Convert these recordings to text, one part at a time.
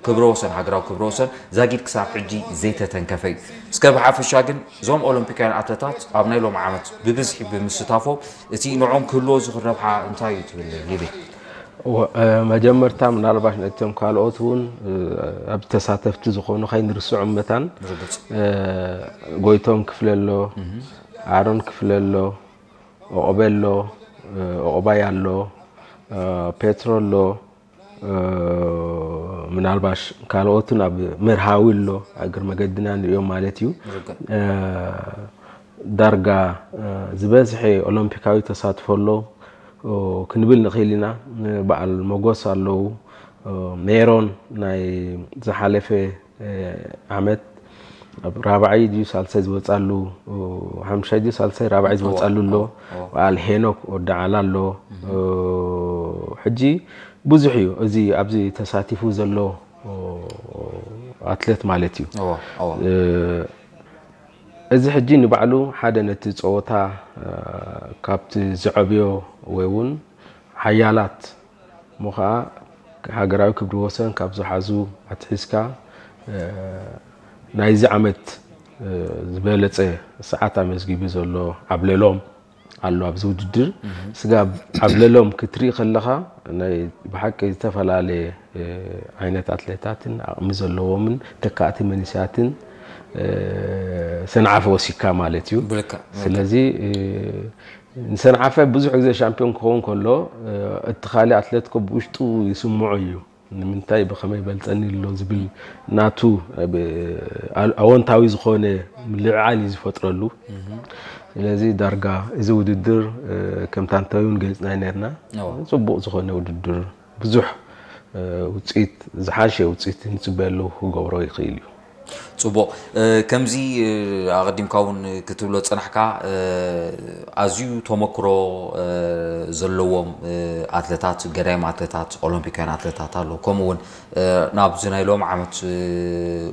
ክብረ ወሰን፣ ሃገራዊ ክብረ ወሰን ዛጊድ ክሳብ ሕጂ ዘይተተንከፈ እዩ። እስከ ብሓፈሻ ግን እዞም ኦሎምፒካውያን ኣትለታት ኣብ ናይ ሎም ዓመት ብብዝሒ ብምስታፎም እቲ ንዕኦም ክህልዎ ዝኽእል ረብሓ እንታይ እዩ ትብል ሊቤ? መጀመርታ ምናልባሽ ነቶም ካልኦት እውን ኣብ ተሳተፍቲ ዝኾኑ ከይንርስዖም መታን ጎይቶም ክፍለ ኣሎ፣ ኣሮን ክፍለ ኣሎ፣ ኦቆበ ኣሎ፣ ኦቆባይ ኣሎ፣ ፔትሮ ኣሎ፣ ምናልባሽ ካልኦትን ኣብ መርሃዊ ኣሎ፣ እግር መገድና ንሪኦም ማለት እዩ። ዳርጋ ዝበዝሐ ኦሎምፒካዊ ተሳትፎ ኣሎ ክንብል ንኽእል ኢና። በዓል ሞጎስ ኣለዉ። ሜሮን ናይ ዝሓለፈ ዓመት ኣብ ራብዓይ ድዩ ሳልሳይ ዝወፃሉ፣ ሓምሻይ ድዩ ሳልሳይ ራብዓይ ዝወፃሉ ኣሎ። በዓል ሄኖክ ወዲ ዓላ ኣሎ። ሕጂ ብዙሕ እዩ እዚ ኣብዚ ተሳቲፉ ዘሎ ኣትሌት ማለት እዩ። እዚ ሕጂ ንባዕሉ ሓደ ነቲ ፀወታ ካብቲ ዝዐብዮ ወይ እውን ሓያላት እሞ ከዓ ሃገራዊ ክብሪ ወሰን ካብ ዝሓዙ ኣትሒዝካ ናይዚ ዓመት ዝበለፀ ሰዓት ኣመዝጊቡ ዘሎ ዓብለሎም ኣሎ ኣብዚ ውድድር። ስጋብ ዓብለሎም ክትርኢ ከለኻ ናይ ብሓቂ ዝተፈላለየ ዓይነት ኣትሌታትን ዓቕሚ ዘለዎምን ተካእቲ መንእሰያትን ሰንዓፈ ወሲካ ማለት እዩ። ስለዚ ንሰንዓፈ ብዙሕ ግዜ ሻምፒዮን ክኸውን ከሎ እቲ ካልእ ኣትሌት ኮ ብውሽጡ ይስምዖ እዩ። ንምንታይ ብኸመይ በልፀኒ ኣሎ ዝብል ናቱ ኣወንታዊ ዝኾነ ምልዕዓል እዩ ዝፈጥረሉ። ስለዚ ዳርጋ እዚ ውድድር ከምታ እንታይ እውን ገሊፅና ነርና። ፅቡቕ ዝኾነ ውድድር ብዙሕ ውፅኢት ዝሓሸ ውፅኢት ንፅበየሉ ክገብሮ ይኽእል እዩ። ፅቡቕ። ከምዚ ኣቐዲምካ እውን ክትብሎ ዝፀናሕካ ኣዝዩ ተመክሮ ዘለዎም ኣትለታት፣ ገዳይም ኣትለታት፣ ኦሎምፒካውያን ኣትለታት ኣሎ። ከምኡ እውን ናብዚ ናይ ሎም ዓመት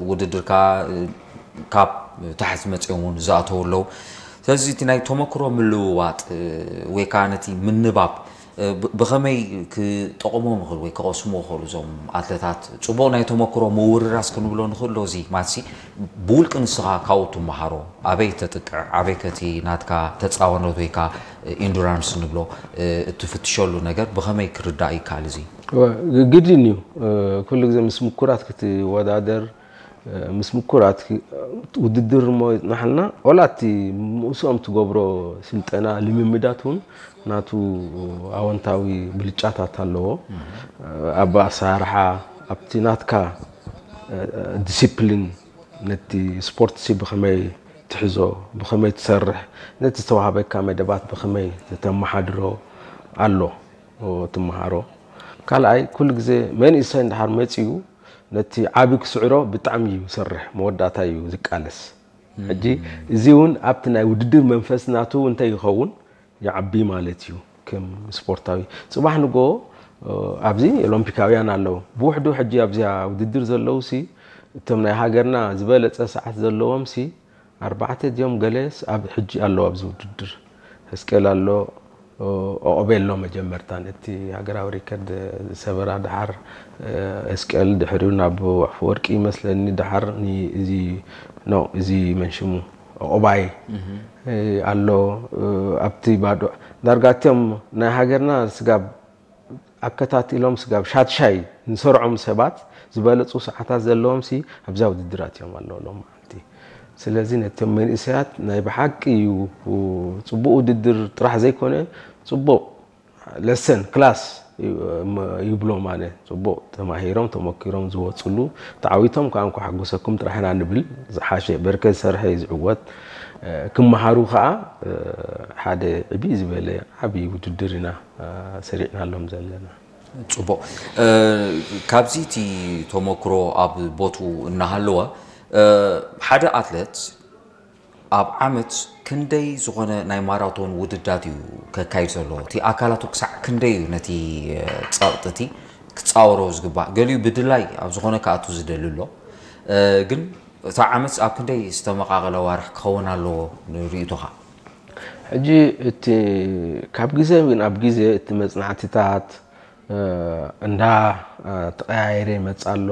ውድድርካ ካብ ታሕቲ መፅኦም እውን ዝኣተው ኣለዉ። ስለዚ እቲ ናይ ተመክሮ ምልውዋጥ ወይ ከዓ ነቲ ምንባብ ብኸመይ ክጠቕሞም ይኽእል ወይ ክቐስሙ ይኽእሉ እዞም ኣትለታት? ፅቡቕ ናይ ተመክሮ ምውርራስ ክንብሎ ንኽእል ዶ? እዚ ማትሲ ብውልቂ ንስኻ ካብኡ ትመሃሮ ኣበይ ተጥቅዕ ኣበይ ከቲ ናትካ ተፃዋኖት ወይ ከዓ ኢንዱራንስ ንብሎ እትፍትሸሉ ነገር ብኸመይ ክርዳእ ይከኣል? እዚ ግድን እዩ። ኩሉ ግዜ ምስ ምኩራት ክትወዳደር ምስ ምኩራት ውድድር እሞ ይፅናሓልና ዋላ እቲ ምስኦም ትገብሮ ስልጠና ልምምዳት እውን ናቱ ኣወንታዊ ብልጫታት ኣለዎ። ኣብ ኣሰራርሓ ኣብቲ ናትካ ዲሲፕሊን ነቲ ስፖርት ሲ ብኸመይ ትሕዞ ብኸመይ ትሰርሕ ነቲ ዝተዋሃበካ መደባት ብኸመይ ተመሓድሮ ኣሎ ትመሃሮ። ካልኣይ ኩሉ ግዜ መንእሰይ እንድሓር መፂኡ ነቲ ዓቢ ክስዕሮ ብጣዕሚ እዩ ዝሰርሕ መወዳእታ እዩ ዝቃለስ። ሕጂ እዚ እውን ኣብቲ ናይ ውድድር መንፈስ ናቱ እንተይኸውን ይዓቢ ማለት እዩ። ከም ስፖርታዊ ፅባሕ ንጎ ኣብዚ ኦሎምፒካውያን ኣለዉ ብውሕዱ ሕጂ ኣብዚኣ ውድድር ዘለዉ ሲ እቶም ናይ ሃገርና ዝበለፀ ሰዓት ዘለዎም ሲ ኣርባዕተ ድዮም ገለስ ኣብ ሕጂ ኣለዉ ኣብዚ ውድድር። ሕዝቅኤል ኣሎ፣ ኦቆቤ ኣሎ መጀመርታ ነቲ ሃገራዊ ሪከርድ ዝሰበራ፣ ደሓር እስቅኤል፣ ድሕሪኡ ናብ ኣፈወርቂ ይመስለኒ፣ ደሓር እዚ ኖ እዚ መንሽሙ ኦቆባይ ኣሎ። ኣብቲ ባዶ ዳርጋ እቲኦም ናይ ሃገርና ስጋብ ኣከታቲሎም ስጋብ ሻድሻይ ንሰርዖም ሰባት ዝበለፁ ሰዓታት ዘለዎም ሲ ኣብዛ ውድድራት እዮም ኣለዉ ሎም መዓልቲ። ስለዚ ነቶም መንእሰያት ናይ ብሓቂ እዩ ፅቡቅ ውድድር ጥራሕ ዘይኮነ ፅቡቅ ለሰን ክላስ ይብሎም ኣነ። ፅቡቅ ተማሂሮም ተመኪሮም ዝወፅሉ ተዓዊቶም ከዓ እንኳ ሓጎሰኩም ጥራሕ ኢና ንብል። ዝሓሸ በርከ ዝሰርሐ እዩ ዝዕወት። ክመሃሩ ከዓ ሓደ ዕብይ ዝበለ ዓብይ ውድድር ኢና ሰሪዕናሎም ዘለና። ፅቡቅ። ካብዚ እቲ ተመክሮ ኣብ ቦቱ እናሃለወ ሓደ ኣትለት ኣብ ዓመት ክንደይ ዝኾነ ናይ ማራቶን ውድዳት እዩ ከካይድ ዘለዎ? እቲ ኣካላቱ ክሳዕ ክንደይ እዩ ነቲ ፀቕጢ እቲ ክፃወሮ ዝግባእ? ገሊኡ ብድላይ ኣብ ዝኾነ ክኣቱ ዝደሊ ኣሎ። ግን እታ ዓመት ኣብ ክንደይ ዝተመቓቐለ ዋርሕ ክኸውን ኣለዎ ንርእይቶኻ? ሕጂ እቲ ካብ ግዜ ናብ ግዜ እቲ መፅናዕትታት እንዳ ተቐያየረ ይመፅእ ኣሎ።